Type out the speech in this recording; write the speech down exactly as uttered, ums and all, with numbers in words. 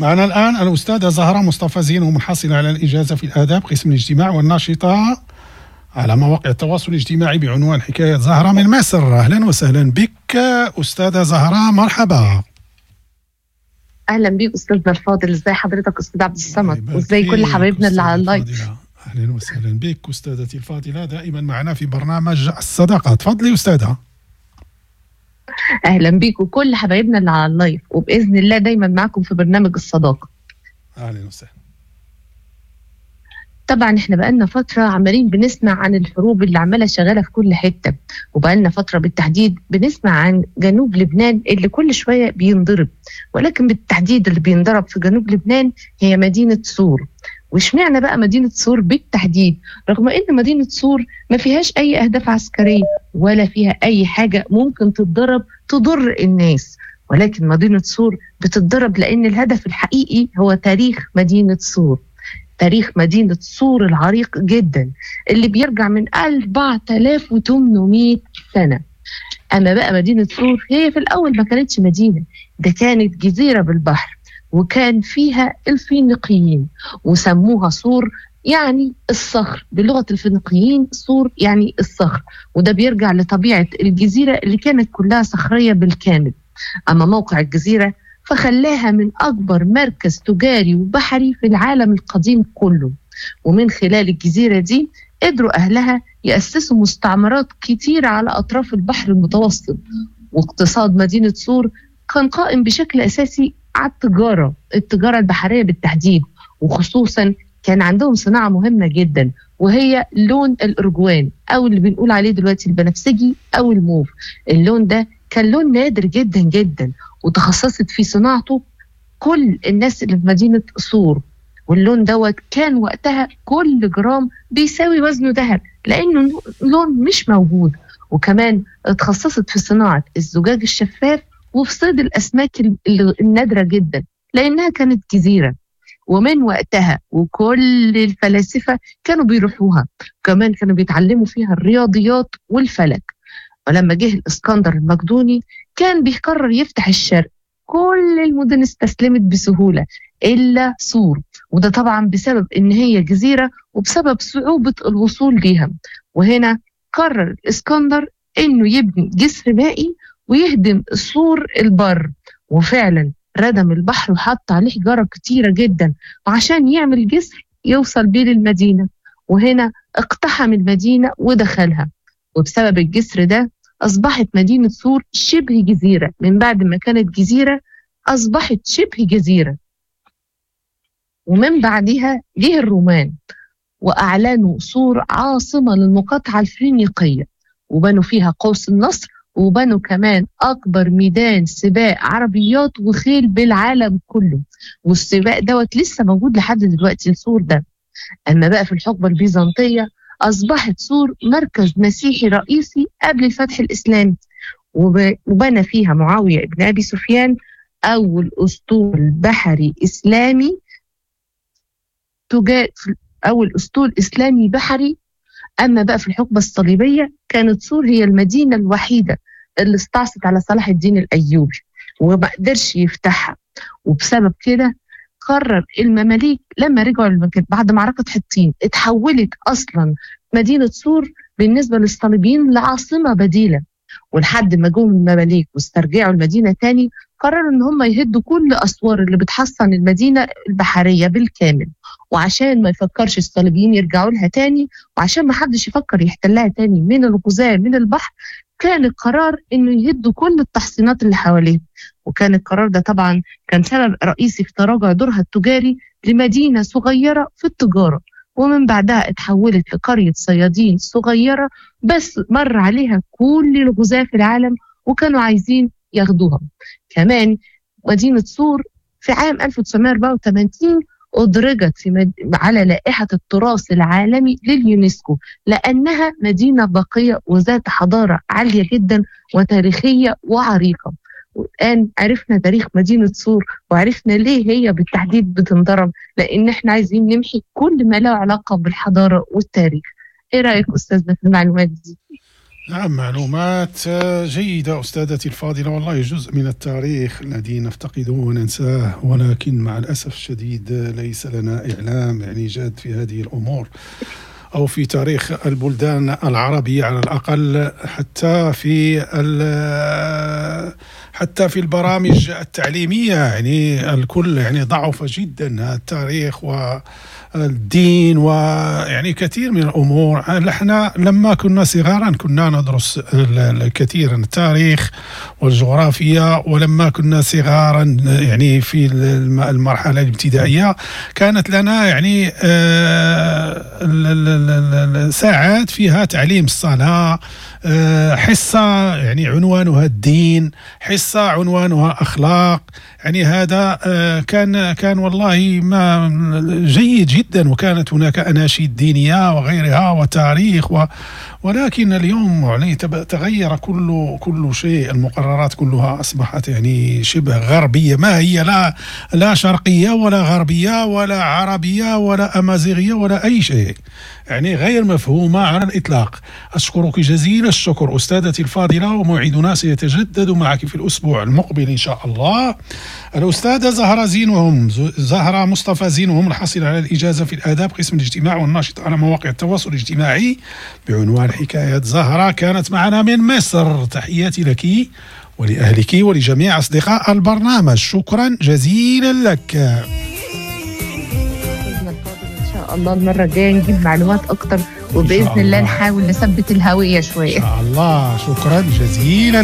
معنا الآن الأستاذة زهرة مصطفى زين، ومنحصلة على الإجازة في الآداب قسم الاجتماع، والناشطة على مواقع التواصل الاجتماعي بعنوان حكاية زهرة من مصر. أهلا وسهلا بك أستاذة زهرة، مرحبا. اهلا بيك استاذنا الفاضل، ازاي حضرتك استاذ عبد الصمد، وازاي كل حبايبنا اللي على ال live. اهلا وسهلا بك استاذتي الفاضلة، دائما معنا في برنامج الصداقة. تفضلي استاذه. اهلا بيك وكل حبايبنا اللي على ال live، وباذن الله دايما معاكم في برنامج الصداقة. اهلا وسهلا. طبعا احنا بقالنا فترة عمالين بنسمع عن الحروب اللي عماله شغالة في كل حتة، وبقالنا فترة بالتحديد بنسمع عن جنوب لبنان اللي كل شوية بينضرب، ولكن بالتحديد اللي بينضرب في جنوب لبنان هي مدينة صور. واشمعنى بقى مدينة صور بالتحديد، رغم ان مدينة صور ما فيهاش اي اهداف عسكرية ولا فيها اي حاجة ممكن تتضرب تضر الناس، ولكن مدينة صور بتتضرب لان الهدف الحقيقي هو تاريخ مدينة صور. تاريخ مدينة صور العريق جدا اللي بيرجع من أربعة آلاف وثمانمائة سنة. أما بقى مدينة صور هي في الأول ما كانتش مدينة، ده كانت جزيرة بالبحر، وكان فيها الفينيقيين وسموها صور يعني الصخر، بلغة الفينيقيين صور يعني الصخر، وده بيرجع لطبيعة الجزيرة اللي كانت كلها صخرية بالكامل. أما موقع الجزيرة فخلاها من أكبر مركز تجاري وبحري في العالم القديم كله، ومن خلال الجزيرة دي قدروا أهلها يأسسوا مستعمرات كتيرة على أطراف البحر المتوسط. واقتصاد مدينة صور كان قائم بشكل أساسي على التجارة، التجارة البحرية بالتحديد، وخصوصا كان عندهم صناعة مهمة جدا وهي لون الأرجوان أو اللي بنقول عليه دلوقتي البنفسجي أو الموف. اللون ده كان لون نادر جدا جدا، وتخصصت في صناعته كل الناس اللي في مدينة صور، واللون دوت كان وقتها كل جرام بيساوي وزنه ذهب لأنه لون مش موجود. وكمان اتخصصت في صناعة الزجاج الشفاف وفي صيد الأسماك النادرة جدا لأنها كانت جزيرة. ومن وقتها وكل الفلاسفة كانوا بيروحوها، كمان كانوا بيتعلموا فيها الرياضيات والفلك. ولما جه الإسكندر المقدوني كان بيقرر يفتح الشرق، كل المدن استسلمت بسهولة إلا صور، وده طبعا بسبب إن هي جزيرة وبسبب صعوبة الوصول ليها. وهنا قرر الإسكندر إنه يبني جسر مائي ويهدم سور البر، وفعلا ردم البحر وحط عليه حجارة كتيرة جدا عشان يعمل جسر يوصل بيه للمدينة. وهنا اقتحم المدينة ودخلها، وبسبب الجسر ده أصبحت مدينة صور شبه جزيرة. من بعد ما كانت جزيرة أصبحت شبه جزيرة. ومن بعدها جه الرومان وأعلنوا صور عاصمة للمقاطعة الفينيقية، وبنوا فيها قوس النصر، وبنوا كمان أكبر ميدان سباق عربيات وخيل بالعالم كله، والسباق دوت لسه موجود لحد دلوقتي السور ده. أما بقى في الحقبة البيزنطية أصبحت صور مركز مسيحي رئيسي قبل الفتح الإسلامي، وبنى فيها معاوية ابن أبي سفيان أول أسطول بحري إسلامي تجا... أول أسطول إسلامي بحري. أما بقى في الحقبة الصليبية كانت صور هي المدينة الوحيدة اللي استعصت على صلاح الدين الأيوبي وما قدرش يفتحها، وبسبب كده قرر المماليك لما رجعوا للمكان بعد معركة حطين اتحولت أصلا مدينة صور بالنسبة للصليبيين لعاصمة بديلة. ولحد ما جم المماليك واسترجعوا المدينة تاني قرروا ان هم يهدوا كل أسوار اللي بتحصن المدينة البحرية بالكامل، وعشان ما يفكرش الصليبيين يرجعوا لها تاني، وعشان ما حدش يفكر يحتلها تاني من الغزاة من البحر، كان القرار انه يهدوا كل التحصينات اللي حواليه. وكان القرار ده طبعا كان سبب رئيسي في تراجع دورها التجاري لمدينة صغيرة في التجارة، ومن بعدها اتحولت لقرية صيادين صغيرة بس مر عليها كل الغزاة في العالم وكانوا عايزين ياخدوها. كمان مدينة صور في عام ألف وتسعمائة وأربعة وثمانين أدرجت في مد... على لائحة التراث العالمي لليونسكو لأنها مدينة باقية وذات حضارة عالية جدا وتاريخية وعريقة. والآن عرفنا تاريخ مدينة صور وعرفنا ليه هي بالتحديد بتنضرب، لأن احنا عايزين نمحي كل ما له علاقة بالحضارة والتاريخ. ايه رأيك أستاذنا في المعلومات دي؟ نعم، معلومات جيدة أستاذتي الفاضلة، والله جزء من التاريخ الذي نفتقده وننساه، ولكن مع الأسف الشديد ليس لنا إعلام يعني جاد في هذه الأمور أو في تاريخ البلدان العربية على الأقل، حتى في حتى في البرامج التعليمية يعني الكل يعني ضعف جدا التاريخ والدين ويعني كثير من الأمور. نحن لما كنا صغارا كنا ندرس الكثير التاريخ والجغرافيا، ولما كنا صغارا يعني في المرحلة الابتدائية كانت لنا يعني ساعات فيها تعليم الصلاة، حصة يعني عنوانها الدين، حصة عنوانها أخلاق، يعني هذا كان كان والله ما جيد جدا، وكانت هناك أناشيد دينية وغيرها وتاريخ و ولكن اليوم يعني تغير كل كل شيء، المقررات كلها أصبحت يعني شبه غربية، ما هي لا لا شرقية ولا غربية ولا عربية ولا أمازيغية ولا أي شيء، يعني غير مفهومة على الإطلاق. أشكرك جزيل الشكر أستاذتي الفاضلة، وموعدنا سيتجدد معك في الأسبوع المقبل إن شاء الله. الأستاذة زهرة زينهم، زهرة مصطفى زينهم، الحاصلة على الإجازة في الآداب قسم الاجتماع والناشط على مواقع التواصل الاجتماعي بعنوان حكاية زهرة، كانت معنا من مصر. تحياتي لك ولأهلك ولجميع أصدقاء البرنامج، شكرا جزيلا لك. إن شاء الله المرة الجاية نجيب معلومات أكتر، وبإذن الله نحاول نثبت الهوية شوية إن شاء الله. شكرا جزيلا.